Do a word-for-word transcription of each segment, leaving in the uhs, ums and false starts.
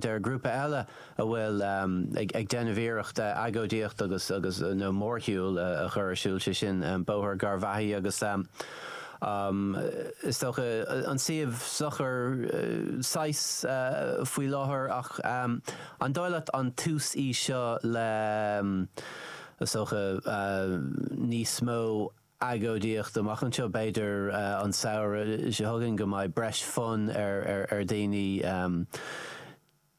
ar grúpa eile a bhfuil um, ag, ag déanamh iarracht uh, agóidíocht agus agus uh, nó mórshiúl uh, a chur ar siúl sé sin um, Bóthar Garvaghy agus um, Um, is dócha an suíomh socair uh, saghas uh, faoi láthair ach um, an dóigh leat an tús í seo le um, is dócha uh, níos mó agóidíocht amach anseo b'fhéidir uh, an samhradh seo chugainn go mbeidh breis fonn ar, ar, ar daoine um,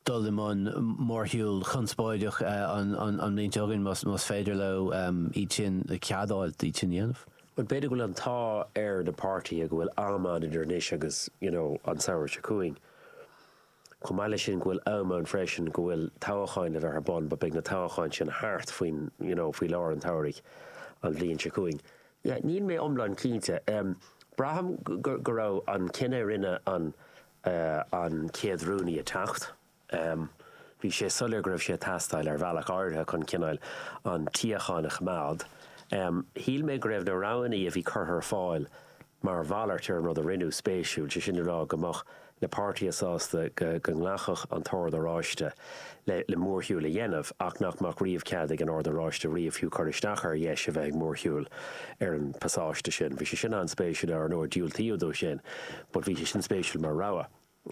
dul i mbun mórshiúl conspóideach uh, an, an, an bhliain seo chugainn más, más féidir leo um, iad sin cead a fháil iad sin dhéanamh. Well b'fhéidir go bhfuil an t-ádh ar na páirtithe go bhfuil am ann idir anois agus you know, an samhradh seo chugainn. Chomh maith leis sin go bhfuil am ann freisin go bhfuil toghcháin le bheith ar bun, ba beidh na toghcháin sin thart faoin you know, faoi lár an tsamhraidh an bhliain seo chugainn. Yeah, níl mé iomlán cinnte. Um, Braithim go, go raibh an cinneadh rinne an, uh, an chéad rúnaí a teacht. Um, bhí sé soiléir go raibh sé teastáil ar bhealach áirithe chun cineál an tsíocháin a choimeád. Um, Shíl mé go raibh na roghanna a bhí curtha ar fáil mar mhalairt ar an rud a rinneadh spéisiúil, sé sin rá go mbeadh na páirtithe sásta go, go nglacfadh an tOrd Oráiste le, le mórshiúl a dhéanamh ach nach mbeadh riamh cead ag an Ord Oráiste riamh fiú cur isteach ar dheis a bheith ag mórshiúl ar an pasáiste sin. Bhí sé sin an-spéisiúil ar ndóigh diúltaíodh dó sin, but bhí sé sin spéisiúil mar rogha.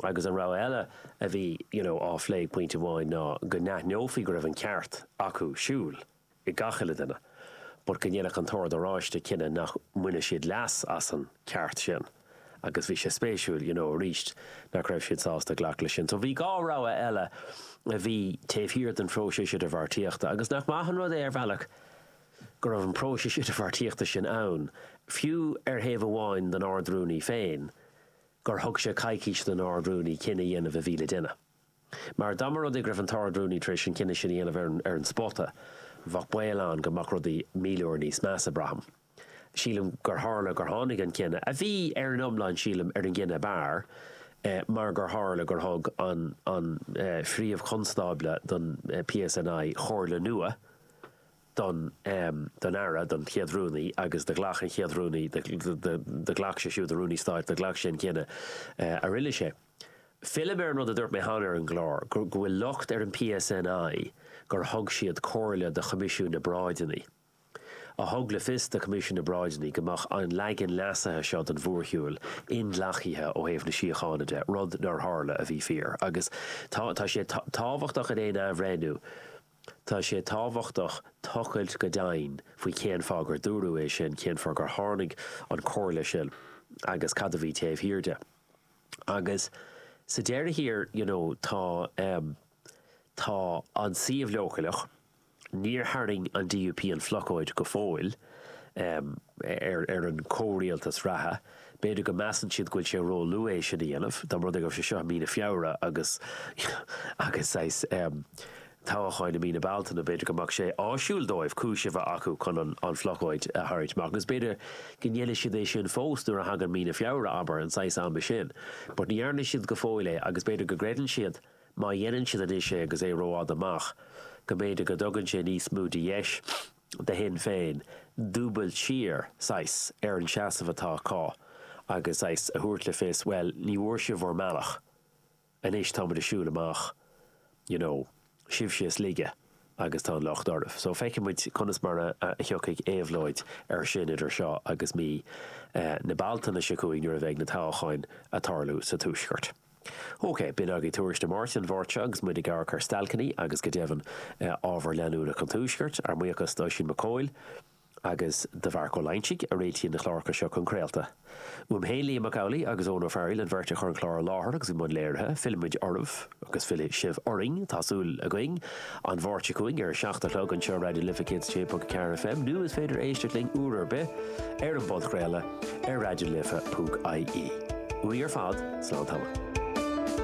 Agus an rogha eile a bhí you know, á phlé pointe amháin ná go n-aithneofaí go raibh an ceart acu siúl i gach uile duine. But go ndéanfadh an tOrd Oráiste cinneadh nach mbainfeadh siad leas as an ceart sin. Agus bhí sé spéisiúil you know, arís nach raibh siad sásta glacadh leis sin. So bhí dhá rogha eile a bhí taobh thiar den phróiseas idirbheartaíochta, agus nach maith an rud é ar bhealach go raibh an próiseas idirbheartaíochta sin ann, fiú ar thaobh amháin den Ard-Rúnaí féin, gur thug sé coicís don Ard-Rúnaí cinneadh a dhéanamh a bhí le déanamh. Mar dá mba rud é go raibh an tArd-Rúnaí tar éis an cinneadh sin a dhéanamh ar an, ar an spota, bheadh baol ann go mbeadh rudaí míle uair níos measa braithim. Sílim gur tharla gur tháinig an cinneadh, a bhí ar an iomlán sílim ar an gcinneadh b'fhearr, eh, mar gur tharla gur thug an, an eh, phríomh-chonstábla don eh, PSNI comhairle nua don, um, don aire, don chéad rúnaí agus do ghlac an chéad rúnaí, do ghlac sé siúd an rúnaí stáit, do ghlac sé an cinneadh eh, a rinne sé. Fillim ar an rud a dúirt mé cheana ar an gclár, go bhfuil locht ar an PSNI gur thug siad comhairle do Choimisiún na bParáideanna. A thug le fios do Choimisiún na bParáideanna go mbeadh an leagan leasaithe seo den mhórshiúl inghlactha ó thaobh na síochána de, rud nár tharla a bhí fíor. Agus tá, tá sé tábhachtach in aon athbhreithniú, tá sé tábhachtach tochailt go domhain faoi cén fáth gur dúradh é sin, cén fáth gur tháinig an chomhairle sin agus cad a bhí taobh thiar de. Agus sa deireadh thiar, you know, tá um, tá an suíomh leochaileach, níor tharraing an DUP an phlocóid go fóill um, ar, ar an comhrialtas reatha. B'fhéidir go measann siad go bhfuil sé ró-luath é sin a dhéanamh, dá mba rud é go raibh sé seo i mí na Feabhra agus agus saghas um, toghcháin i mí na Bealtaine b'fhéidir go mbeadh sé áisiúil dóibh cúis a bheith acu chun an, an phlocóid a tharraingt amach. Agus b'fhéidir go ndéanfaidh siad é sin fós nuair a thagann mí na Feabhra abair an saghas ama sin. But ní dhearna siad go fóill é agus b'fhéidir go gcreideann siad má dhéanann siad anois é agus é rófhada amach, go mb'fhéidir go dtugann sé níos mó de dheis do Shinn Féin dúbailt siar saghas ar an seasamh atá acu agus saghas a thabhairt le fios, well ní bhfuair sibh bhur mbealach, anois táimid ag siúl amach, you know, sibhse is laige agus tá an locht oraibh. So feicfimid conas mar a, a thiocfaidh éabhlóid ar sin idir seo agus mí eh, na Bealtaine seo chugainn nuair a bheidh na toghcháin ag tarlú sa Tuaisceart. Ok, b'in agaibh Tuairisc na Máirte an Mháirt seo agus muid ag amharc ar stailceanna agus go deimhin eh, ábhar leanúnach an Tuaiscirt, ár mbuíochas d'Oisín Mac Cóil agus do Mharc Ó Loingsigh a réitíonn na cláracha seo chun craolta. Uaim féin Liam Mac Amhlaigh agus Eoin Ó Fearghaíl an bheirt a chuir an clár i láthair agus i mbun léirithe, fillfimid oraibh agus fillfidh sibh orainn tá súil againn an Mháirt seo chugainn ar a seacht a chlog anseo Raidió na Life céad a sé ponc ceathair FM nó is féidir éisteacht linn uair ar bith ar an bpodchraoladh ar raidiolife.ie. Uainn ar fad, slán tamall.